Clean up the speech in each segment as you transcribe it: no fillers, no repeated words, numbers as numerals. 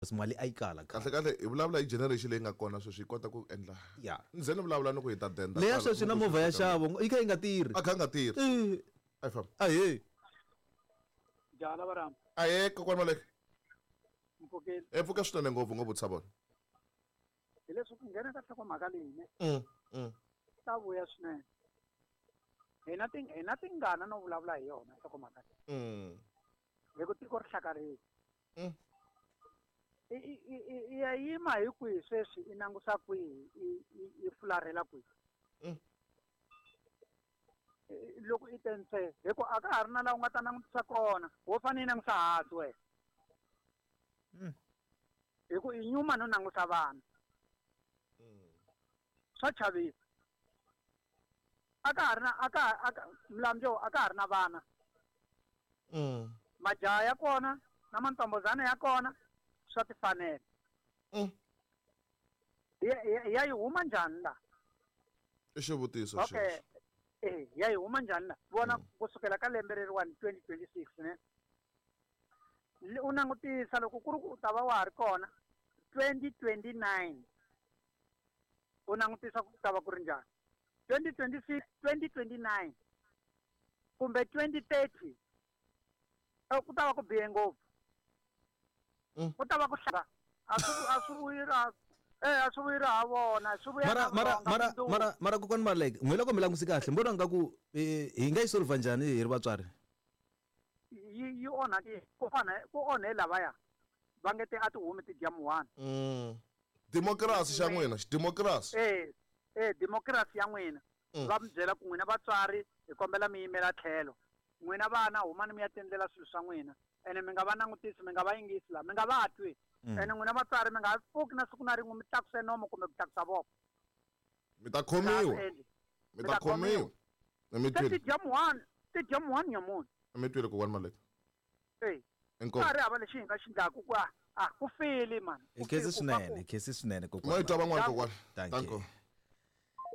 Because mali a yi kala Kahle kahle hi vulavula hi generation leyi nga kona sweswi yi kota ku endla. Ya. Ni ze ni vulavula ni ku hi ta denda. Leya kwala, sweswi na ni ku movha ya swi fika. xavo yi kha yi nga tirhi. A kha nga tirhi. Eh, A yi famba. Ahee. Jala varamba. Ahee kokwani Maleke. Mpfukile. E pfuka swinene ngopfu ngopfu tshava. Hileswi ku nghena ka nhlokomhaka leyi ne. Ta vuya swinene. Hina ti hina tingana no vulavula hi yona nhlokomhaka leyi. Hi ku tiko ri hlakarile. I i i i ya yima hi kwihi sweswi i langusa kwihi i i i fularhela kwihi. Loko i te ntsee hi ku a ka ha ri na laha u nga ta langutisa kona wo fanele i langusa hansi wena. Hi ku i nyuma no langusa vanhu. Swa chavisa. A ka ha ri na a ka a ka Mlambo a ka ha ri na vana. Majaha ya kona na mantombozana ya kona swa tifanela. Ya ya yi huma njhani la? I xivutiso Okay. xexo. Eh, ya yi huma njhani la? Vona kusukela ka lembe leriwani 2026 ne. U langutisa loko ku ri ku u ta va wa ha ri kona 2029. U langutisa ku ta va ku ri njhani. 2026, 2029 kumbe 2030 ku ta va ku bihe ngopfu. Ku ta va ku hlava. A swi a swi vuyi ra eh a swi vuyi ra ha vona, swi vuya Mara na mara vulonga mara mundzuku. mara mara kokwani Maleke, n'we loko mi langutise kahle, mi vona nga ku hi nga yi solve njhani hi ri vatswari? Yi yi onhake ku onhe ku onhe lavaya va nge te a ti humi ti dya muhwana. Democracy xa n'wina, xidemocracy. Eh eh democracy ya n'wina. Va mi byela ku n'wina vatswari hi kombela mi yimela tlhelo. N'wina vana humani mi ya tiendlela swilo swa n'wina. Ene mi nga va langutisi, mi nga va yingisi la, mi nga va twi. Ene n'wina vatswari mi nga pfuki na siku na rin'we mi tlakuse nomo kumbe ku tlakusa voko. Mi ta khomiwa. Mi ta khomiwa. Mi Se ti twile. dya muhwana, ti dya muhwana nyamunhu. Mi twile kokwani Maleke. Eh. Inkomu. Ka ha ri hava lexi hi nga xi endlaku ku a ku file man. Hi khensi swinene, hi khensi swinene kokwani. Mo yi twa van'wana kokwani. Thank you.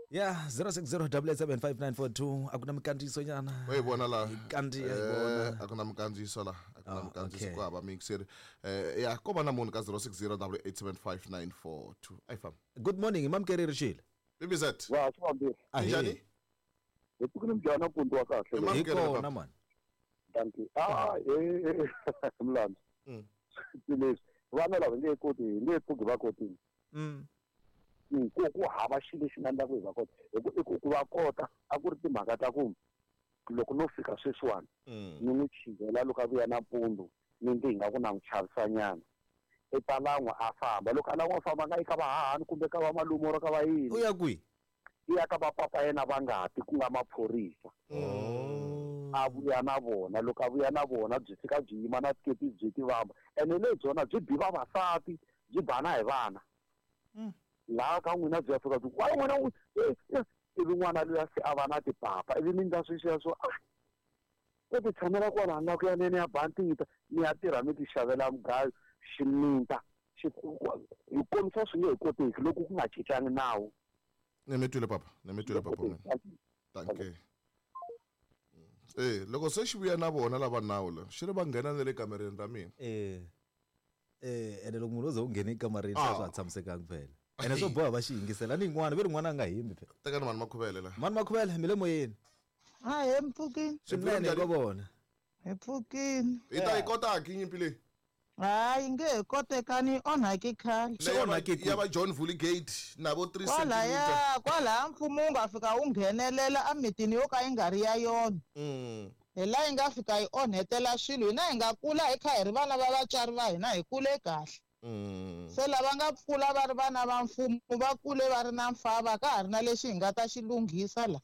Yeah, 0608875942 a ku na mikandziyiso nyana. Wa yi vona la. Kandziya yi vona. A ku na mikandziyiso la, a ku na Ah, mikandziyiso okay. ku hava miyingiseri. Ya ko va na munhu ka 0608875942. A yi famba. Good morning, mamukeri Rixile. BBZ. Wa swi fambile. Ahee. Njhani? Hi pfukile njhani mpundzu wa kahle. Hi kona man. Thank you. Ah, eh Mlambo. Leswi vana lava nge koti, hi nge pfuki va kotile. Ku ku hava xilo lexi nga endlaku hi va kota. Hi ku i ku va kota a ku ri timhaka ta ku loko no fika sweswiwani ni n'wi chivela loko a vuya nampundzu ni ndzi hi nga ku na n'wi chavisanyana. I ta lan'wa a famba loko a lan'wa a famba a nga yi ka vahahani kumbe ka va malume or ka va yini. U ya kwihi? I ya ka va papa yena va ngati ku nga maphorisa. A vuya na vona loko a vuya na vona byi fika byi yima na tiketi byi ti vamba ene lebyona byi bi vavasati byi bana hi vana. Laha ka n'wina byi ya fika byi ku wa n'wina n'wi ivi n'wana luya se a va na tipapa ivi mi ndla sweswiya swo ah u ti tshamela kwala nga ku ya nene ya bantita mi ya tirha mi ti xavela mugayo ximinta hi kombisa swi nge he koteki loko ku nga cincanga nawu. Ni mi twile papa, ni mi twile papa mina. Thank you. Eh, loko se xi vuya na vona lava nawu la, xi ri va nghena na le kamereni ra mina. Eh. Eh, ene loko munhu o ze u nghene ekamareni swi swa ha tshamisekanga phela. Ene swo boha va xi yingisela ni yin'wana ve ri n'wana a nga hembi phela. Tekani mani Makhuvele la. Mani Makhuvele mi le moyeni. Ahee mpfukini. Swinene ko vona. Hi pfukini. Hi ta yi kota ki nyimpi leyi? Hayi nge he kotekani yi onhaki khale. Ya va John Vuligate na vo 3 Kwalaya centimeter. kwalaya mfumo wu nga fika wu nghenelela emitini yo ka yi nga ri ya yona. Hi laha yi nga fika yi onhetela swilo hina hi nga kula hi kha hi ri vana va vatswari va hina hi kule kahle. Se lava nga kula va ri vana va mfumo va kule va ri na mfava ka ha ri na lexi hi nga ta xi lunghisa la.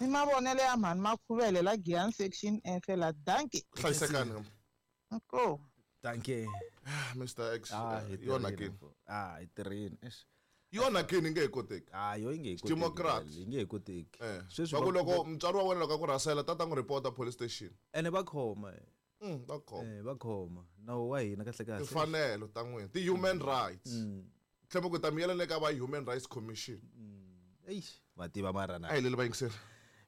I mavonelo ya mhani Makhuvele la Giyani section F la dankie. Hlayisekani. Inkomu. Thank you. Mr X. Ah, hi yi onhakile. tirhile. Ah, hi tirhile. Eish. Yi onhakile yi nge he koteki. Ah, yo yi nge he koteki. Democrat. Yi nge he koteki. Eh. Sweswi Va ku loko mutswari wa wena loko a ku rhasela tata n'wi report police station. Ene va khoma. Va khoma. Eh, va khoma. Nawu wa hina kahle kahle. Timfanelo ta n'wina, ti-human rights. Tlhela ku ta mi yela le ka va Human Rights Commission. Eish, va tiva mara na. A hi leli vayingiseri.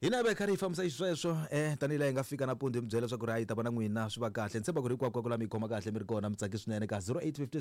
Hina va hi karhi hi fambisa xisweswo tanihi laha hi nga fika nampundzu hi mi byela leswaku ri a yi ta va na n'wina swi va kahle. Ni tshemba ku ri hinkwako la mi yi khoma kahle mi ri kona mi tsake swinene ka 0856.